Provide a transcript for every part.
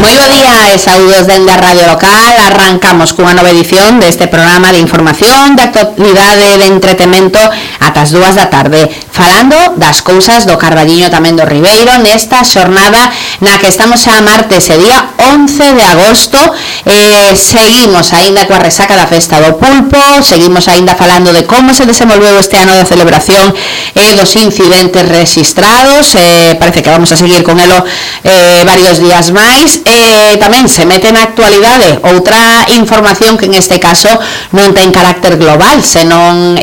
Moi bo día e saúdos dende a Radio Local. Arrancamos cunha nova edición deste programa de información, de actualidade, de entretemento ata as 2 da tarde, falando das cousas do Carballiño tamén do Ribeiro nesta xornada na que estamos a martes e día 11 de agosto. Seguimos aínda coa resaca da festa do pulpo, seguimos aínda falando de como se desenvolveu este ano de celebración e dos incidentes registrados. Parece que vamos a seguir con elo varios días máis. Tamén se mete na actualidade outra información que en este caso non ten carácter global, senón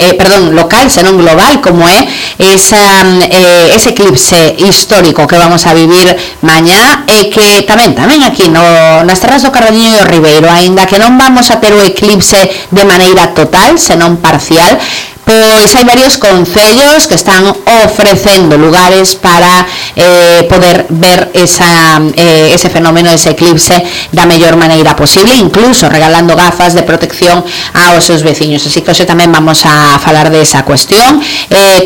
local, senón global, como é ese eclipse histórico que vamos a vivir mañá, e que tamén aquí nas terras do Carballiño e do Ribeiro, aínda que non vamos a ter o eclipse de maneira total, senón parcial, pois hai varios concellos que están ofrecendo lugares para poder ver ese fenómeno, ese eclipse da mellor maneira posible, incluso regalando gafas de protección aos seus veciños. Así que hoxe tamén vamos a falar de esa cuestión,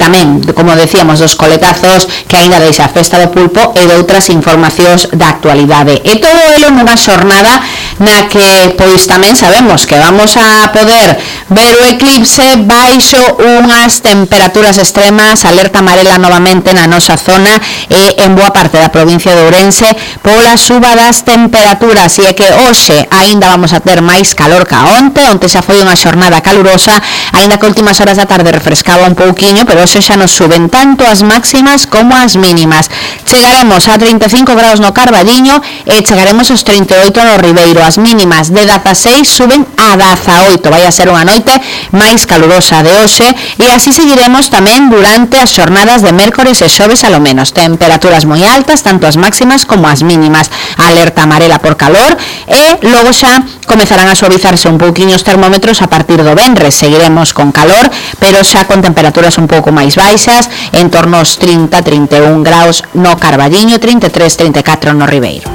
tamén, como decíamos, dos coletazos que aínda deixa a festa do pulpo e de outras informacións da actualidade. E todo elo nunha xornada na que pois tamén sabemos que vamos a poder ver o eclipse baixo unhas temperaturas extremas, alerta amarela novamente na nosa zona e en boa parte da provincia de Ourense pola suba das temperaturas. E é que hoxe aínda vamos a ter máis calor que onte xa foi unha xornada calurosa, aínda que últimas horas da tarde refrescaba un pouquiño, pero hoxe xa nos suben tanto as máximas como as mínimas. Chegaremos a 35 graus no Carballiño e chegaremos aos 38 no Ribeiro. As mínimas de 16 suben a 18. Vai a ser unha noite máis calurosa de hoxe, e así seguiremos tamén durante as xornadas de mércores e xoves alo menos. Temperaturas moi altas, tanto as máximas como as mínimas. Alerta amarela por calor, e logo xa comezarán a suavizarse un pouquiño os termómetros a partir do venres. Seguiremos con calor, pero xa con temperaturas un pouco máis baixas, en torno aos 30-31 graus no Carballiño, 33-34 no Ribeiro.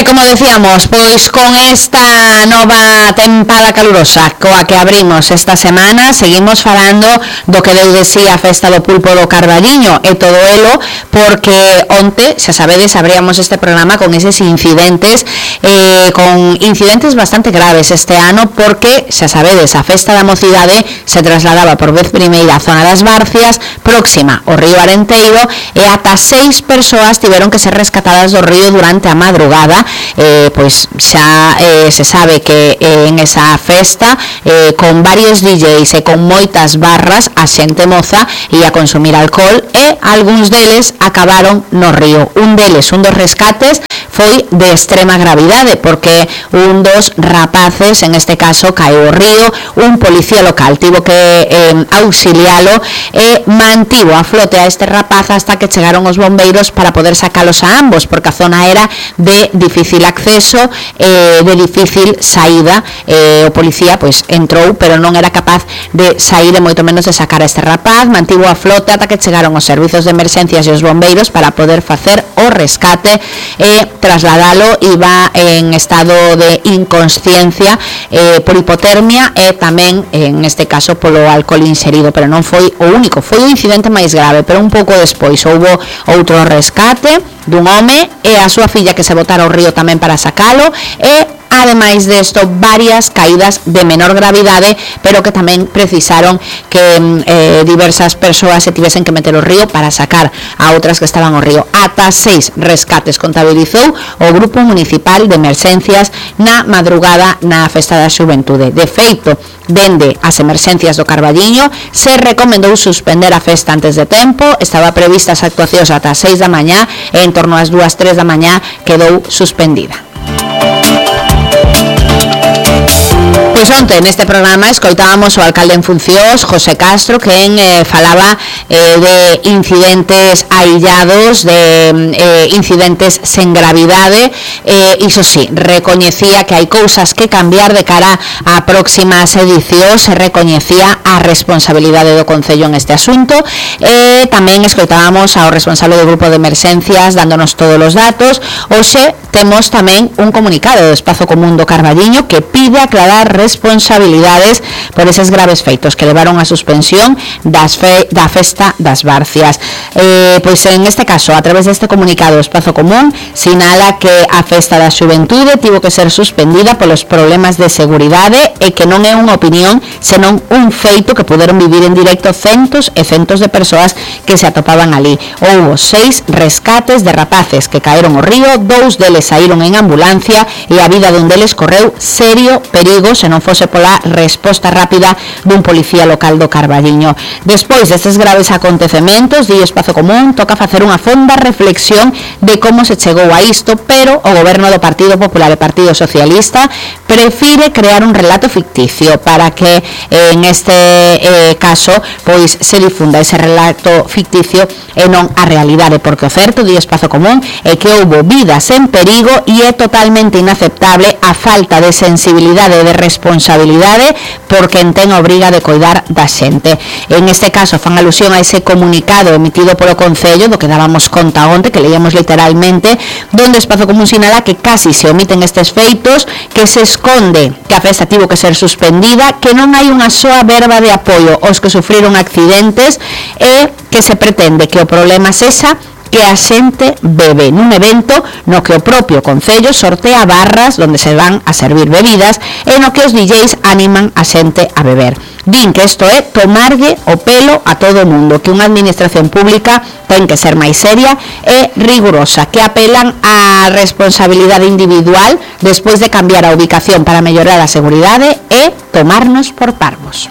Como decíamos, pois con esta nova tempada calurosa coa que abrimos esta semana, seguimos falando do que deu de si a festa do pulpo do Carballiño e todo elo, porque onte, xa sabedes, abríamos este programa con eses incidentes, con incidentes bastante graves este ano, porque, xa sabedes, a festa da mocidade se trasladaba por vez primeira á zona das Barcias, próxima ao río Arenteiro, e ata 6 persoas tiveron que ser rescatadas do río durante a madrugada. Pois xa se sabe que en esa festa con varios DJs e con moitas barras a xente moza ia consumir alcohol e algúns deles acabaron no río. Un dos rescates foi de extrema gravidade, porque un dos rapaces, en este caso, caeu ao río. Un policía local tivo que auxilialo e mantivo a flote a este rapaz hasta que chegaron os bombeiros para poder sacalos a ambos, porque a zona era de difícil acceso, de difícil saída. O policía pois entrou, pero non era capaz de sair e moito menos de sacar a este rapaz. Mantivo a flote ata que chegaron os servizos de emerxencias e os bombeiros para poder facer o rescate e trasladalo. Iba en estado de inconsciencia por hipotermia e tamén, en este caso, polo alcohol inserido, pero non foi o único, foi o incidente máis grave. Pero un pouco despois houbo outro rescate dun home e a súa filla que se botara ao río tamén para sacalo, e ademais desto varias caídas de menor gravidade, pero que tamén precisaron que diversas persoas se tivesen que meter ao río para sacar a outras que estaban ao río. Ata 6 rescates contabilizou o Grupo Municipal de Emerxencias na madrugada na Festa da Xuventude. De feito, dende as emerxencias do Carballiño se recomendou suspender a festa antes de tempo. Estaba prevista as actuacións ata as 6 da mañá e en torno ás 2-3 da mañá quedou suspendida. Pois onte neste programa escoitábamos o alcalde en funcións, José Castro, quen falaba de incidentes aillados, de incidentes sen gravidade. Iso sí, recoñecía que hai cousas que cambiar de cara a próximas edicións, se recoñecía a responsabilidade do Concello en este asunto. Tamén escoitábamos ao responsable do Grupo de Emerxencias dándonos todos os datos. Hoxe temos tamén un comunicado do Espazo Común do Carballiño que pide aclarar responsabilidades por eses graves feitos que levaron a suspensión da festa das Barcias. Pois en este caso, a través deste comunicado, o Espazo Común sinala que a festa da xuventude tivo que ser suspendida polos problemas de seguridade e que non é unha opinión, senón un feito que puderon vivir en directo centos e centos de persoas que se atopaban ali. Houbo 6 rescates de rapaces que caeron ao río, 2 deles saíron en ambulancia e a vida dun deles correu serio perigo se non fose pola resposta rápida dun policía local do Carballiño. Despois destes graves acontecementos, di Espazo Común, toca facer unha fonda reflexión de como se chegou a isto, pero o goberno do Partido Popular e Partido Socialista prefire crear un relato ficticio para que en este caso pois se difunda ese relato ficticio e non a realidade, porque o certo, di Espazo Común, é que houbo vidas en perigo e é totalmente inaceptable a falta de sensibilidade e de responsabilidade por quen ten a obriga de coidar da xente. En este caso fan alusión a ese comunicado emitido polo Concello, do que dábamos conta onte, que leíamos literalmente, donde Espazo Común sinala que casi se omiten estes feitos, que se esconde que a festa tivo que ser suspendida, que non hai unha soa verba de apoio aos que sufriron accidentes e que se pretende que o problema sexa que a xente bebe nun evento no que o propio Concello sortea barras onde se van a servir bebidas e no que os DJs animan a xente a beber. Din que isto é tomarlle o pelo a todo o mundo, que unha administración pública ten que ser máis seria e rigurosa, que apelan á responsabilidade individual despois de cambiar a ubicación para mellorar a seguridade e tomarnos por parvos.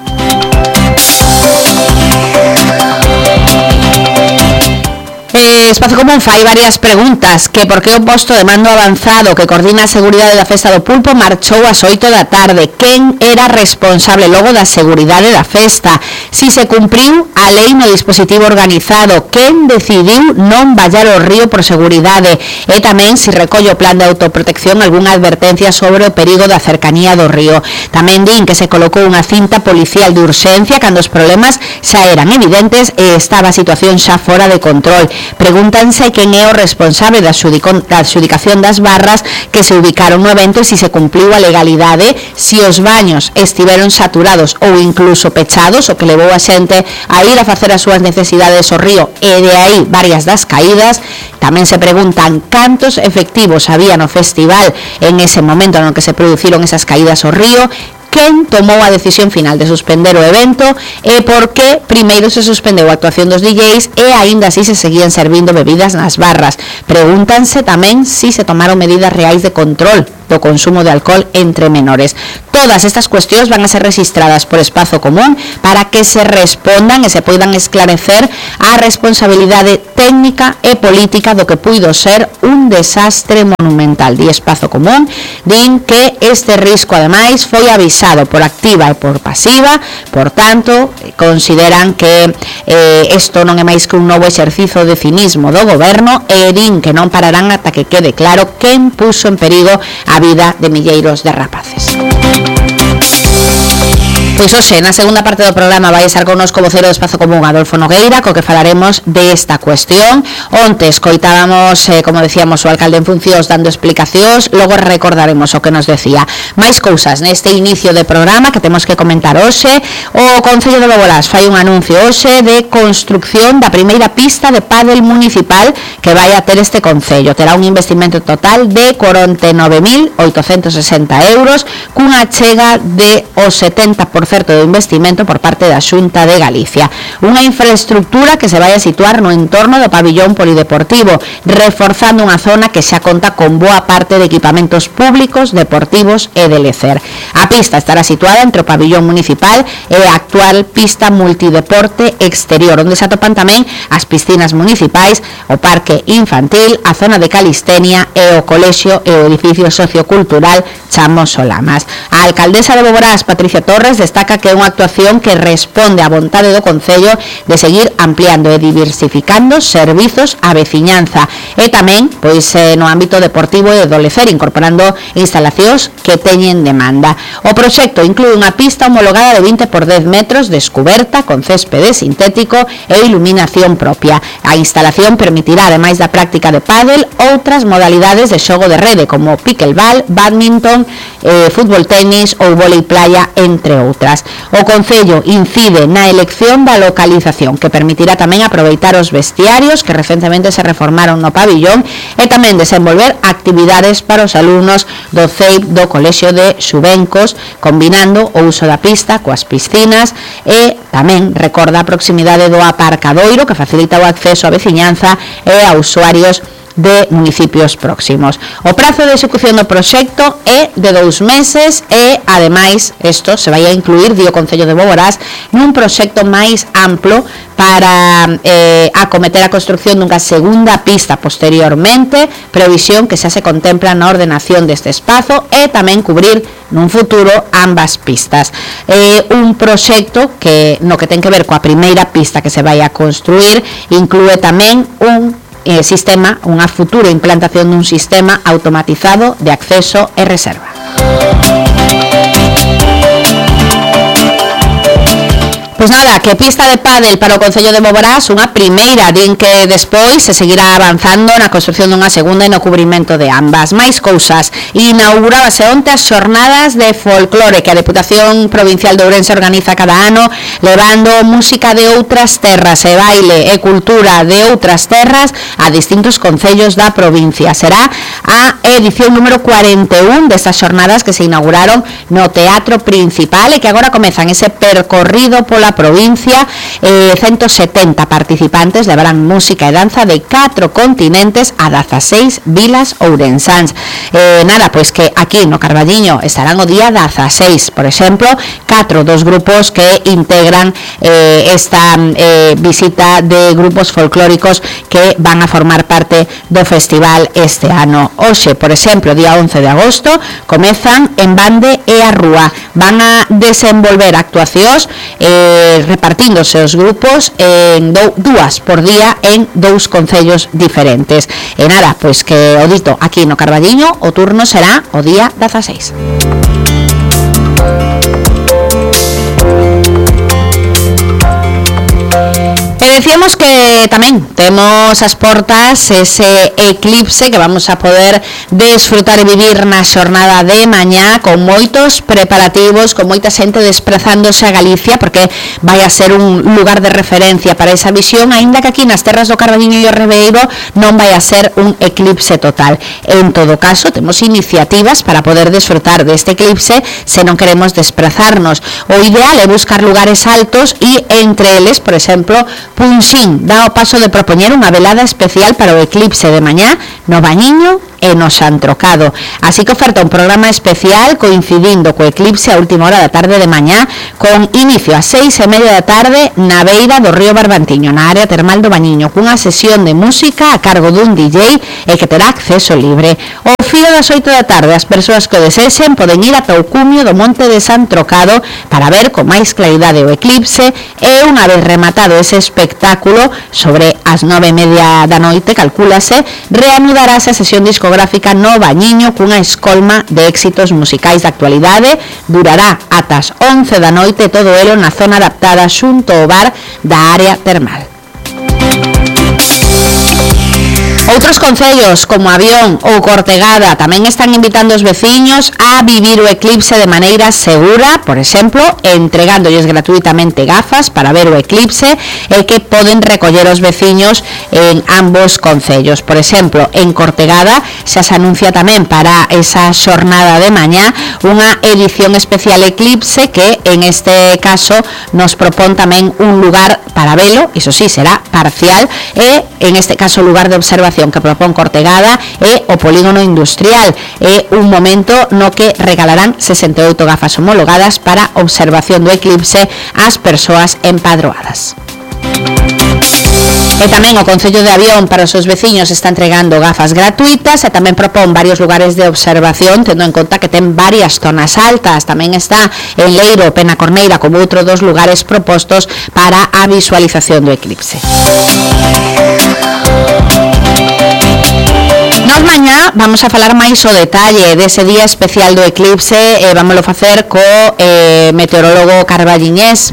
Espazo Común fai varias preguntas, que por que o posto de mando avanzado que coordina a seguridade da festa do Pulpo marchou ás 8 da tarde, quen era responsable logo da seguridade da festa, si se cumpriu a lei no dispositivo organizado, quen decidiu non vallar o río por seguridade e tamén si recolle o plan de autoprotección algunha advertencia sobre o perigo da cercanía do río. Tamén din que se colocou unha cinta policial de urxencia cando os problemas xa eran evidentes e estaba a situación xa fora de control. Pregúntanse quen é o responsable da adxudicación das barras que se ubicaron no evento e se cumpliu a legalidade, si os baños estiveron saturados ou incluso pechados, o que levou a xente a ir a facer as súas necesidades ao río e de aí varias das caídas. Tamén se preguntan cantos efectivos había no festival en ese momento no que se produciron esas caídas ao río, quen tomou a decisión final de suspender o evento e por que primeiro se suspendeu a actuación dos DJs e aínda así se seguían servindo bebidas nas barras. Pregúntanse tamén si se tomaron medidas reais de control do consumo de alcohol entre menores. Todas estas cuestións van a ser registradas por Espazo Común para que se respondan e se poidan esclarecer a responsabilidade técnica e política do que puido ser un desastre monumental. Di Espazo Común, din que este risco ademais foi avisado por activa e por pasiva, por tanto, consideran que isto non é máis que un novo exercizo de cinismo do goberno e din que non pararán ata que quede claro quen puso en perigo a vida de milleiros de rapaces. Pois hoxe, na segunda parte do programa vai estar connosco o vocero do Espazo Común, Adolfo Nogueira, co que falaremos desta cuestión. Onte escoitábamos, como decíamos, o alcalde en funcións dando explicacións, logo recordaremos o que nos decía. Máis cousas neste inicio de programa que temos que comentar hoxe. O Concello de Bobolás fai un anuncio hoxe de construcción da primeira pista de pádel municipal que vai a ter este Concello. Terá un investimento total de 49.860 euros, cunha chega de o 70% do investimento por parte da Xunta de Galicia. Unha infraestructura que se vai a situar no entorno do pabillón polideportivo, reforzando unha zona que xa conta con boa parte de equipamentos públicos, deportivos e de lecer. A pista estará situada entre o pabillón municipal e a actual pista multideporte exterior, onde se atopan tamén as piscinas municipais, o parque infantil, a zona de calistenia e o colexio e o edificio sociocultural Chamos Solamas. A alcaldesa de Boborás, Patricia Torres, destaca que é unha actuación que responde á vontade do Concello de seguir ampliando e diversificando servizos á veciñanza e tamén pois no ámbito deportivo e do lecer, incorporando instalacións que teñen demanda. O proxecto inclúe unha pista homologada de 20 por 10 metros descuberta con céspede sintético e iluminación propia. A instalación permitirá, ademais da práctica de pádel, outras modalidades de xogo de rede como pickleball, badminton, fútbol tenis ou vólei playa, entre outras. O Concello incide na elección da localización, que permitirá tamén aproveitar os vestiarios que recentemente se reformaron no pabillón e tamén desenvolver actividades para os alumnos do CEIP do Colexio de Xubencos, combinando o uso da pista coas piscinas e tamén recorda a proximidade do aparcadoiro que facilita o acceso á veciñanza e a usuarios de municipios próximos. O prazo de execución do proxecto é de 2 meses e, ademais, isto se vai a incluir, di o Concello de Boborás, nun proxecto máis amplo para acometer a construcción dunha segunda pista posteriormente, previsión que xa se contempla na ordenación deste espazo e tamén cubrir nun futuro ambas pistas. Un proxecto que no que ten que ver coa primeira pista que se vai a construir inclúe tamén un sistema, unha futura implantación dun sistema automatizado de acceso e reserva. Pois nada, que pista de pádel para o Concello de Boborás, unha primeira, din que despois se seguirá avanzando na construcción dunha segunda e no cubrimento de ambas. Máis cousas, inaugurábase onte as xornadas de folclore que a Deputación Provincial de Ourense organiza cada ano, levando música de outras terras e baile e cultura de outras terras a distintos concellos da provincia. Será a edición número 41 destas xornadas que se inauguraron no Teatro Principal e que agora comezan ese percorrido pola provincia. 170 participantes levarán música e danza de 4 continentes a 16 vilas ourensáns. Nada, pois que aquí no Carballiño estarán o día 16, por exemplo, 4 dos grupos que integran esta visita de grupos folclóricos que van a formar parte do festival este ano. Hoxe, por exemplo, día 11 de agosto, comezan en Bande e a Rúa. Van a desenvolver actuacións repartíndose os grupos en dúas por día en 2 concellos diferentes. E nada, pois que o dito aquí no Carballiño o turno será o día 16. Decíamos que tamén temos as portas ese eclipse que vamos a poder desfrutar e vivir na xornada de mañá con moitos preparativos, con moita xente desplazándose a Galicia porque vai a ser un lugar de referencia para esa visión, aínda que aquí nas terras do Carballiño e o Ribeiro non vai a ser un eclipse total. En todo caso, temos iniciativas para poder desfrutar deste eclipse se non queremos desplazarnos. O ideal é buscar lugares altos e entre eles, por exemplo, Punxín dá o paso de propoñer unha velada especial para o eclipse de mañá no Bañiño e no Santrocado. Así que oferta un programa especial coincidindo co eclipse a última hora da tarde de mañá, con inicio a 6:30 da tarde na beira do río Barbantiño, na área termal do Bañiño, cunha sesión de música a cargo dun DJ e que terá acceso libre. O fío das 8 da tarde, as persoas que o desexen poden ir ata o cumio do Monte de Santrocado para ver con máis claridade o eclipse e unha vez rematado ese espectáculo sobre as 9:30 da noite, calcúlase, reanudarase a sesión discográfica no Bañiño cunha escolma de éxitos musicais da actualidade. Durará ata as 11 da noite, todo elo na zona adaptada xunto ao bar da área termal. Outros concellos como Avión ou Cortegada tamén están invitando os veciños a vivir o eclipse de maneira segura, por exemplo, entregándoles gratuitamente gafas para ver o eclipse e que poden recoller os veciños en ambos concellos. Por exemplo, en Cortegada xa se anuncia tamén para esa xornada de mañá unha edición especial eclipse que en este caso nos propón tamén un lugar para velo, iso sí, será parcial, e en este caso o lugar de observación que propón Cortegada é o polígono industrial. É un momento no que regalarán 68 gafas homologadas para observación do eclipse ás persoas empadroadas. E tamén o Concello de Avión para os seus veciños está entregando gafas gratuitas e tamén propón varios lugares de observación, tendo en conta que ten varias zonas altas. Tamén está en Leiro, Penacorneira, como outro dos lugares propostos para a visualización do eclipse. Nós mañá vamos a falar máis o detalle dese día especial do eclipse e vámoslo facer co meteorólogo carballiñés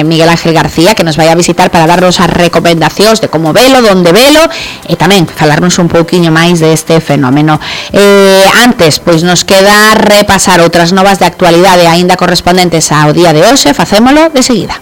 Miguel Ángel García, que nos vai a visitar para darnos as recomendacións de como velo, donde velo e tamén falarnos un pouquiño máis deste fenómeno. Antes, pois nos queda repasar outras novas de actualidade aínda correspondentes ao día de hoxe, facémolo de seguida.